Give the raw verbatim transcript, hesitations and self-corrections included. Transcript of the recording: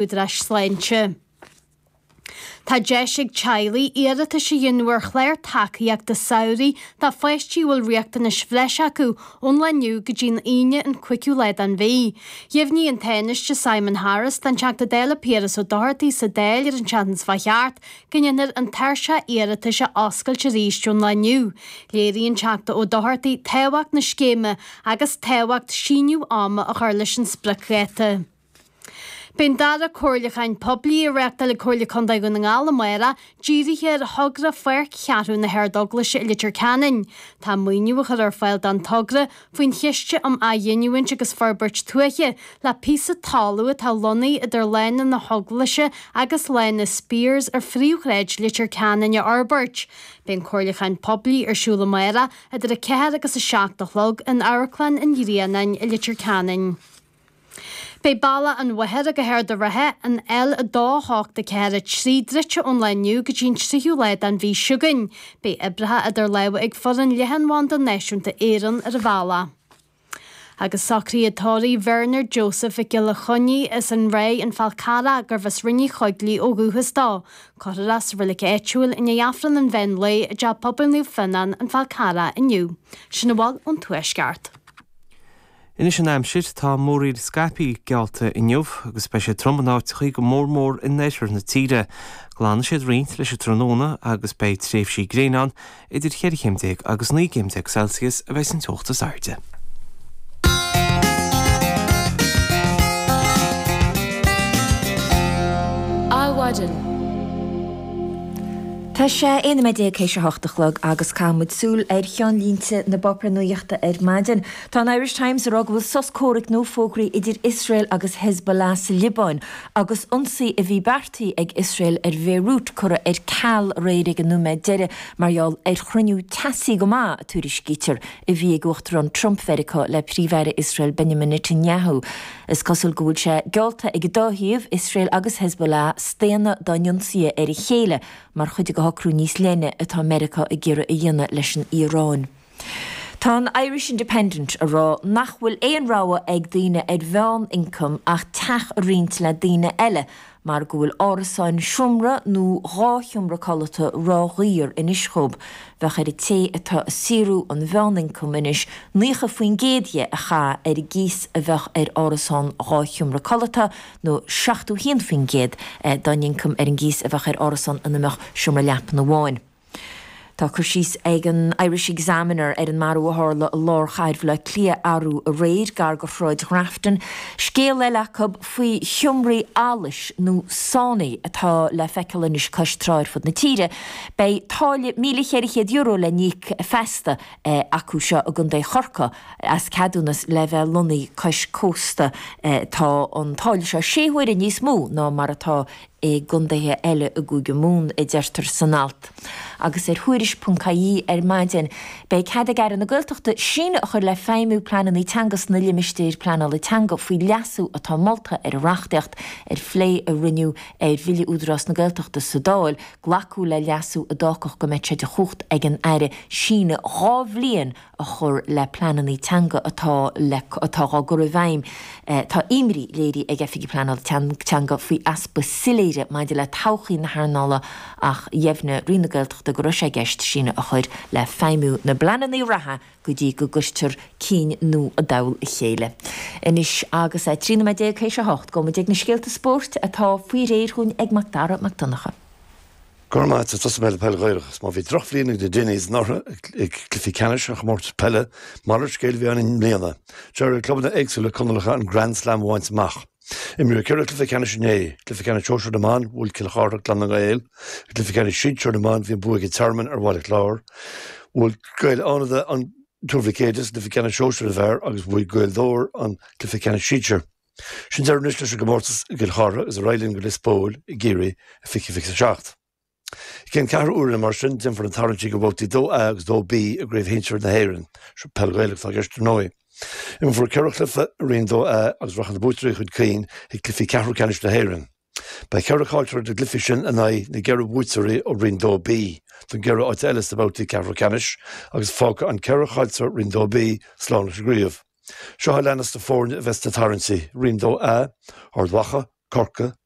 údaráis sláinte. Tá deis ag teaghlaigh iarratais a dhéanamh ar chlár tacaíochta samhraidh do pháistí a bhfuil riachtanais bhreise acu ón lá inniu go dtí an Aoine an cúigiú lá den mhí. Dheimhnigh an Tánaiste Simon Harris don Teachta Dála Piaras Ó Dochartaigh sa Dáil ar an tseachtain seo thart go ndéanfar an tairseach iarratais a oscailt arís ón lá inniu. Léirigh an Teachta Ó Dochartaigh tábhacht na scéime agus tábhacht síneadh ama a chur leis an spriocdháta. Beidh an dara comhairliúchán poiblí á reáchtáil ag Comhairle Contae Dhún na nGall amárach dírithe ar thogra Pháirc Cheathrú na hArd-Eaglaise i Leitir Ceanainn. Tá maoiniú á chur ar fáil don togra faoin Chiste um Athghiniúint agus Forbairt Tuaithe le píosa talún atá lonnaithe idir Lána na hEaglaise agus Lána Spears ar phríomhshráid Leitir Ceanainn a fhorbairt. Beidh an comhairliúchán poiblí ar siúl amárach idir a ceathair agus a seacht a chlog in Amharclann an Ghrianáin i Leitir Ceanainn. Beidh Bealach an Mhachaire go hArd an Rátha, an L a dó hocht a ceathair a trí druidte ón lá inniu go dtí an tríú lá den mhí seo chugainn. Beidh oibreacha idir lámha ag foireann Leathanbhanda Náisiúnta Éireann ar an bhealach. Agus socruithe tórraimh Bhernard Joseph Mhic Giolla Chainnigh as an Ráth an Fál Carrach gurbh as Rinn Uí Choigligh ó dhúchas dó. Cuirfear é sa reilig áitiúil i ndiaidh Aifreann an mheán lae i dTeach Pobail Naomh Fionnán an Fál Carrach inniu. Sin a bhfuil ón Tuaisceart. Anois an aimsir tá múraíl scaipthe geallta inniu agus beidh sé trom in áiteachaí go mór mór in oirthear na tíre. Glanfaidh siad roinnt leis an tráthnóna agus beidh tréimhsí gréine ann idir cheithre chéim déag agus naoi gcéim déag Celsius a bheidh an teocht is airde. Adhmhaidin. Tá sé aon nóiméad déag théis a hocht a chlog agus caithfidh muid súil ar cheannlínte na bpáipéar nuachta ar maidin. Tá an Irish Times ag rá go bhfuil sos comhraic nua fógraithe idir Iosrael agus Hezbollah sa Liobáin agus ionsaí a bhí beartaithe ag Iosrael ar Bhéiriút curtha ar ceal aréir ag an nóiméad deiridh mar gheall ar chruinniú teasaí go maith, a tuairiscítear, a bhí ag Uachtarán Trump Mheiriceá le Príomh-Aire Iosrael Benjamin Netanyahu. Is cosúil go bhfuil sé geallta ag an dá thaobh, Iosrael agus Hezbollah, staonadh dá n-ionsaithe ar a chéile mar chuid de shocrú níos leithne atá Meiriceá ag iarraidh a dhéanamh leis an Iaráin. Tá an Irish Independent ag rá nach bhfuil aon rogha ag daoine ar mheánioncam ach teach a roinnt le daoine eile mar go bhfuil árasáin seomra nó dhá sheomra codlata ródhaor anois dhóibh. Bheadh ar an té atá ag saothrú an mheánioncam anois naocha faoin gcéad dhe a chaitheamh ar an gcíos a bheadh ar árasán dhá sheomra codlata nó seachtó haon faoin gcéad dá n-ioncam ar an gcíos a bheadh ar árasán ina mbeadh seomra leapan amháin. Tá cur síos ag an Irish Examiner ar an marú a tharla i lár chathair Bhaile Átha Cliath arú aréir gar go Shráid Ghrafton. Scéal eile acu faoi sheomraí allais nó saunaí atá le feiceáil anois cois trá ar fud na tíre. Beidh táille míle cheithre chéad euro le n-íoc feasta acu seo i gContae Chorcaí as ceadúnas le bheith lonnaithe cois cósta. Tá an táille seo sé huaire níos mó ná mar atá i gcontaetha eile i gCúige Mumhan, a deirtear san alt. Agus ar Thuairisc ponc ie ar maidin, beidh cead ag Aire na Gaeltachta síneadh a chur le feidhmiú pleananna teanga sna limistéir pleanála teanga faoi leasú atá molta ar an reachtaíocht ar phlé a rinneadh ar Bhille Údarás na Gaeltachta sa Dáil. Glacadh le leasú a d'fhágfadh go mbeadh sé de chumhacht ag an Aire síneadh dhá bhliain a chur le pleananna teanga atá le atá á gcur i bhfeidhm. Tá imní léirithe ag Oifigigh Pleanála Teanga faoi easpa soiléire maidir le todhchaí na hearnála ach dheimhnigh Roinn na Gaeltachta go raibh sé i gceist síneadh a chur le feidhmiú na bpleananna reatha go dtí go gcuirtear cinn nua i dtoll a chéile. Anois agus é trí nóiméad déag théis a hocht, gabhfaidh muid ag na scéalta spóirt atá faoi réir dhúinn ag Macdara Mac Donncha. Go raibh maith agat, tosóidh mé le peil Ghaelach. Má bhí drochbhliain ag na Dinnies anuraidh ag cluichí ceannais an chomórtais peile, malairt scéil a bhí ann i mbliana. D'éirigh le clubanna éagsúla Conallacha an Grand Slam a bhaint amach. Imríodh ceithre chluiche ceannais inné, cluiche ceannais sóisir na mban, bhuail Cill Chartha Clann na nGael, i gcluiche ceannais sinsir na mban bhí an bua ag an Tearmann ar Bhaile Chláir, bhuail Gaeil Fhánada an Tuar Mhic Éadaigh sa gcluiche ceannais sóisir na bhfear agus bhuaigh Gaoth Dobhair an cluiche ceannais sinsir. Sin deireadh anois leis an gcomórtas i gCill Chartha agus ar aghaidh linn go Lios Póil i gCiarraí i fiche fiche a seacht. I gceann ceathrú uaire mar sin, déanfar na tarraingtí do bhabhtaí dó A agus dó B i gCraobh Shinsir na hÉireann, peil Ghaelach atá i gceist ar ndóigh. Imreofar ceithre chluiche i Roinn dó A agus rachaidh na buaiteoirí chun cinn chuig cluichí ceathrú ceannais na hÉireann. Beidh ceithre chaillteoir na gcluichí sin in aghaidh na gceithre bhuaiteoirí ó Roinn dó B don gceithre áit eile sna babhtaí ceathrú ceannais agus fágfaidh an ceithre chaillteoir Roinn dó B slán leis an gcraobh. Seo a leanas na foirne a bheas sna tarraingtí, Roinn dó A, Ard Mhacha, Corcaigh, Dún